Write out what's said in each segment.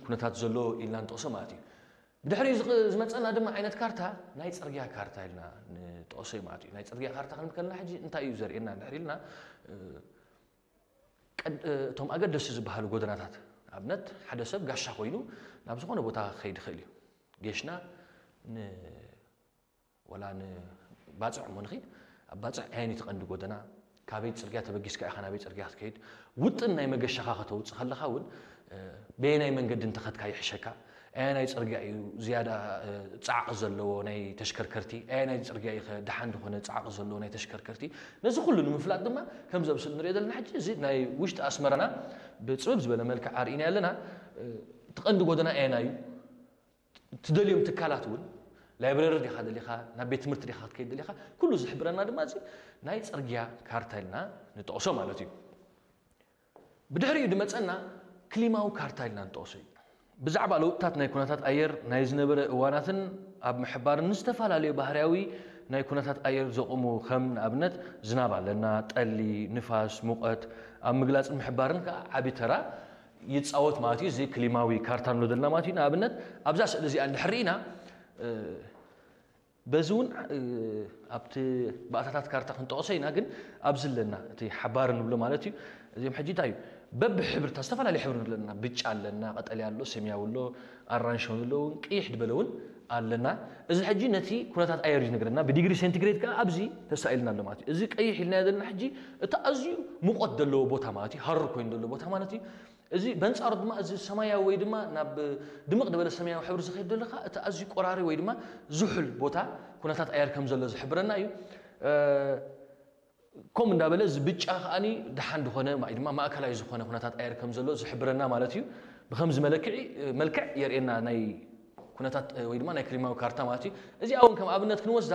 ኩነታት ዘሎ ኢልና ንጠቕሶ ማለት እዩ። ብድሕሪኡ ዝመፀና ድማ ዓይነት ካርታ ናይ ፅርግያ ካርታ ኢልና ንጠቕሶ እዩ ማለት እዩ። ናይ ፅርግያ ካርታ ክንብል ከለና ሕጂ እንታይ እዩ ዘርእየና ድሕሪ ኢልና እቶም ኣገደሲ ዝበሃሉ ጎደናታት ኣብነት ሓደ ሰብ ጋሻ ኮይኑ ናብ ዝኾነ ቦታ ክኸይድ ይኽእል እዩ። ጌሽና ወላ ንባፅዕ እሞ ንኺድ ኣብ ባፅዕ ኣየን እቲ ቀንዲ ጎደና ካበይ ፅርግያ ተበጊስካ ኢኻ ናበይ ፅርግያ ክትከይድ ውጥን ናይ መገሻኻ ከተውፅእ ከለኻ እውን በየናይ መንገዲ እንተኸድካ ይሕሸካ ኣየናይ ፅርግያ እዩ ዝያዳ ፃዕቂ ዘለዎ ናይ ተሽከርከርቲ ኣየናይ ፅርግያ እዩ ደሓን ዝኾነ ፃዕቂ ዘለዎ ናይ ተሽከርከርቲ ነዚ ኩሉ ንምፍላጥ ድማ ከምዚ ኣብ ስእሊ ንሪኦ ዘለና ሕጂ እዚ ናይ ውሽጢ ኣስመራና ብፅብብ ዝበለ መልክዕ ኣርኢና ኣለና እቲ ቀንዲ ጎደና ኣየና እዩ ትደልዮም ትካላት እውን ላይብረሪ ዲኻ ደሊኻ ናብ ቤት ትምህርቲ ዲኻ ክትከይድ ደሊኻ ኩሉ ዝሕብረና ድማ እዚ ናይ ፅርግያ ካርታ ኢልና ንጠቕሶ ማለት እዩ ብድሕሪኡ ድመፀና ክሊማዊ ካርታ ኢልና ንጠቕሶ እዩ ብዛዕባ ለውጥታት ናይ ኩነታት ኣየር ናይ ዝነበረ እዋናትን ኣብ ምሕባርን ንዝተፈላለዩ ባህርያዊ ናይ ኩነታት ኣየር ዘቑሙ ከም ንኣብነት ዝናብ ኣለና፣ ጠሊ፣ ንፋስ፣ ሙቐት ኣብ ምግላፅን ምሕባርን ከዓ ዓቢ ተራ ይፃወት ማለት እዩ። እዚ ክሊማዊ ካርታ ንብሎ ዘለና ማለት እዩ። ንኣብነት ኣብዛ ስእሊ እዚኣ እንድሕር ርኢና በዚ እውን ኣብቲ ባእታታት ካርታ ክንጠቕሶ ኢና፣ ግን ኣብዚ ኣለና እቲ ሓባሪ ንብሎ ማለት እዩ። እዚኦም ሕጂ እንታይ እዩ በብሕብርታት ዝተፈላለዩ ሕብሪ ኣለና፣ ብጫ ኣለና፣ ቀጠልያ ኣሎ፣ ሰማያዊ ኣሎ፣ ኣራንሺ እውን ኣሎ፣ እውን ቅይሕ ዝበለ እውን ኣለና። እዚ ሕጂ ነቲ ኩነታት ኣየር እዩ ዝነግረና። ብዲግሪ ሴንቲግሬድ ከዓ ኣብዚ ተሳኢልና ኣሎ ማለት እዩ። እዚ ቀይሕ ኢልናዮ ዘለና ሕጂ እቲ ኣዝዩ ሙቐት ዘለዎ ቦታ ማለት እዩ፣ ሃሩር ኮይኑ ዘለዎ ቦታ ማለት እዩ። እዚ በንጻሩ ድማ እዚ ሰማያዊ ወይ ድማ ናብ ድምቕ ዝበለ ሰማያዊ ሕብሪ ዝኸይድ ዘሎ ከዓ እቲ ኣዝዩ ቆራሪ ወይ ድማ ዝሑል ቦታ ኩነታት ኣየር ከም ዘሎ ዝሕብረና እዩ። ከምኡ እንዳበለ እዚ ብጫ ከዓኒ ደሓን ዝኾነ ወይ ድማ ማእከላይ ዝኾነ ኩነታት ኣየር ከም ዘሎ ዝሕብረና ማለት እዩ። ብከምዚ መለክዒ መልክዕ የርእየና ናይ ኩነታት ወይ ድማ ናይ ክሊማዊ ካርታ ማለት እዩ። እዚኣ እውን ከም ኣብነት ክንወስዳ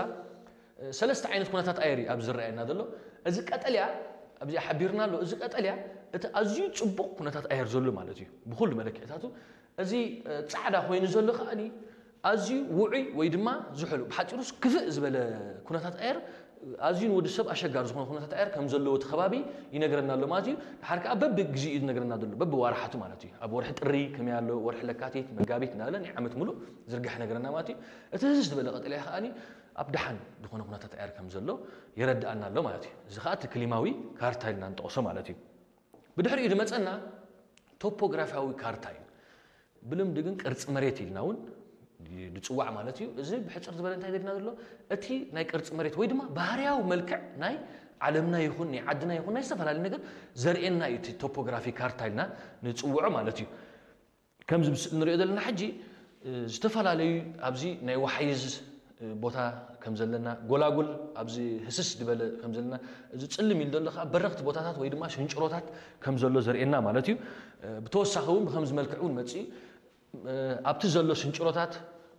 ሰለስተ ዓይነት ኩነታት ኣየር እዩ ኣብዚ ዝረኣየና ዘሎ። እዚ ቀጠልያ ኣብዚኣ ሓቢርና ኣሎ። እዚ ቀጠልያ እቲ ኣዝዩ ጽቡቕ ኩነታት ኣየር ዘሎ ማለት እዩ። ብኹሉ መለክዕታቱ እዚ ጻዕዳ ኮይኑ ዘሎ ከዓኒ ኣዝዩ ውዑይ ወይ ድማ ዝሑል ብሓፂሩስ ክፍእ ዝበለ ኩነታት ኣየር ኣዝዩ ንወዲ ሰብ ኣሸጋሪ ዝኾነ ኩነታት ኣየር ከም ዘለዎ እቲ ከባቢ ይነግረና ኣሎ ማለት እዩ። ድሓር ከዓ በቢ ግዜኡ እዩ ዝነግረና ዘሎ በቢ ዋርሓቱ ማለት እዩ። ኣብ ወርሒ ጥሪ ከመይ ኣሎ፣ ወርሒ ለካቲት፣ መጋቢት እናበለ ናይ ዓመት ሙሉእ ዝርጋሕ ይነግረና ማለት እዩ። እቲ ህስስ ዝበለ ቀጠልያ ከዓኒ ኣብ ደሓን ዝኾነ ኩነታት ኣየር ከም ዘሎ የረድኣና ኣሎ ማለት እዩ። እዚ ከዓ እቲ ክሊማዊ ካርታ ኢልና ንጠቕሶ ማለት እዩ። ብድሕሪኡ ዝመፀና ቶፖግራፊያዊ ካርታ እዩ። ብልምዲ ግን ቅርፂ መሬት ኢልና እውን ንፅዋዕ ማለት እዩ። እዚ ብሕፅር ዝበለ እንታይ ዘድና ዘሎ እቲ ናይ ቅርፂ መሬት ወይ ድማ ባህርያዊ መልክዕ ናይ ዓለምና ይኹን ናይ ዓድና ይኹን ናይ ዝተፈላለዩ ነገር ዘርእየና እዩ እቲ ቶፖግራፊ ካርታ ኢልና ንፅውዖ ማለት እዩ። ከምዚ ንሪኦ ዘለና ሕጂ ዝተፈላለዩ ኣብዚ ናይ ዋሕይዝ ቦታ ከም ዘለና ጎላጉል ኣብዚ ህስስ ዝበለ ከም ዘለና እዚ ፅልም ኢሉ ዘሎ ከዓ በረኽቲ ቦታታት ወይ ድማ ሽንጭሮታት ከም ዘሎ ዘርእየና ማለት እዩ። ብተወሳኺ እውን ብከምዚ መልክዕ እውን መፅኡ ኣብቲ ዘሎ ሽንጭሮታት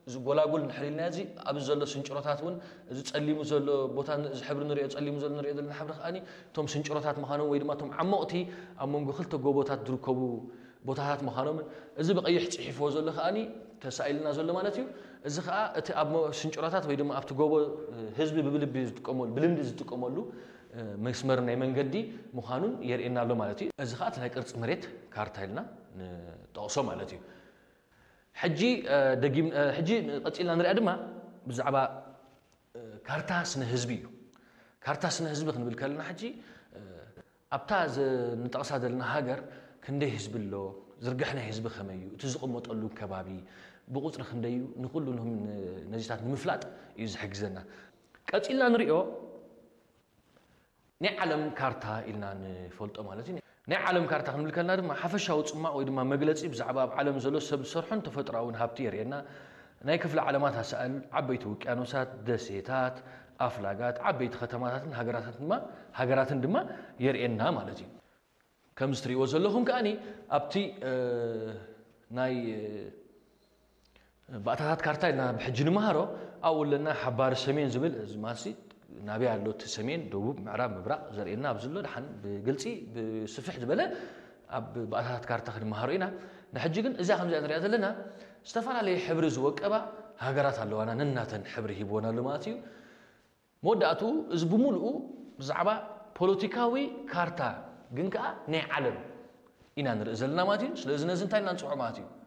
እዚ ጎላጉል ንሕሪልና እዚ ኣብዚ ዘሎ ሽንጭሮታት እውን እዚ ፀሊሙ ዘሎ ቦታ እዚ ሕብሪ ንሪኦ ፀሊሙ ዘሎ ንሪኦ ዘለና ሕብሪ ከዓኒ እቶም ሽንጭሮታት ምዃኖም ወይ ድማ እቶም ዓሞቕቲ ኣብ መንጎ ክልተ ጎቦታት ዝርከቡ ቦታታት ምዃኖምን እዚ ብቐይሕ ፅሒፍዎ ዘሎ ከዓኒ ተሳኢልና ዘሎ ማለት እዩ። እዚ ከዓ እቲ ኣብ ሽንጭሮታት ወይ ድማ ኣብቲ ጎቦ ህዝቢ ብብልቢ ዝጥቀመሉ ብልምዲ ዝጥቀመሉ መስመር ናይ መንገዲ ምዃኑን የርእየና ኣሎ ማለት እዩ። እዚ ከዓ እቲ ናይ ቅርፂ መሬት ካርታ ኢልና ንጠቕሶ ማለት እዩ። ሕጂ ደጊም ሕጂ ቀፂልና ንሪኣ ድማ ብዛዕባ ካርታ ስነ ህዝቢ እዩ። ካርታ ስነ ህዝቢ ክንብል ከለና ሕጂ ኣብታ ንጠቕሳ ዘለና ሃገር ክንደይ ህዝቢ ኣሎ፣ ዝርግሕ ናይ ህዝቢ ከመይ እዩ፣ እቲ ዝቕመጠሉ ከባቢ ብቁፅሪ ክንደይ እዩ፣ ንኩሉ ነዚታት ንምፍላጥ እዩ ዝሕግዘና። ቀፂልና ንሪኦ ናይ ዓለም ካርታ ኢልና ንፈልጦ ማለት እዩ። ናይ ዓለም ካርታ ክንብል ከለና ድማ ሓፈሻዊ ፅማቕ ወይ ድማ መግለፂ ብዛዕባ ኣብ ዓለም ዘሎ ሰብ ዝሰርሖን ተፈጥሮኣውን ሃብቲ የርእየና። ናይ ክፍለ ዓለማት ኣሳእል፣ ዓበይቲ ውቅያኖሳት፣ ደሴታት፣ ኣፍላጋት፣ ዓበይቲ ከተማታትን ሃገራትን ድማ ሃገራትን ድማ የርእየና ማለት እዩ። ከምዚ ትሪእዎ ዘለኹም ከኣኒ ኣብቲ ናይ ባእታታት ካርታ ኢልና ብሕጂ ንምሃሮ ኣብኡ ኣለና ሓባሪ ሰሜን ዝብል እዚ ማሲ ናበይ ኣሎ እቲ ሰሜን ደቡብ ምዕራብ ምብራቕ ዘርእየና ኣብዚ ኣሎ ድሓን ብግልፂ ብስፍሕ ዝበለ ኣብ ባእታታት ካርታ ክንመሃሮ ኢና። ንሕጂ ግን እዚኣ ከምዚኣ ንሪኣ ዘለና ዝተፈላለየ ሕብሪ ዝወቀባ ሃገራት ኣለዋና ነናተን ሕብሪ ሂብወን ኣሎ ማለት እዩ። መወዳእቱ እዚ ብምሉኡ ብዛዕባ ፖለቲካዊ ካርታ ግን ከዓ ናይ ዓለም ኢና ንርኢ ዘለና ማለት እዩ። ስለዚ ነዚ እንታይ ኢና ንፅውዖ ማለት እዩ?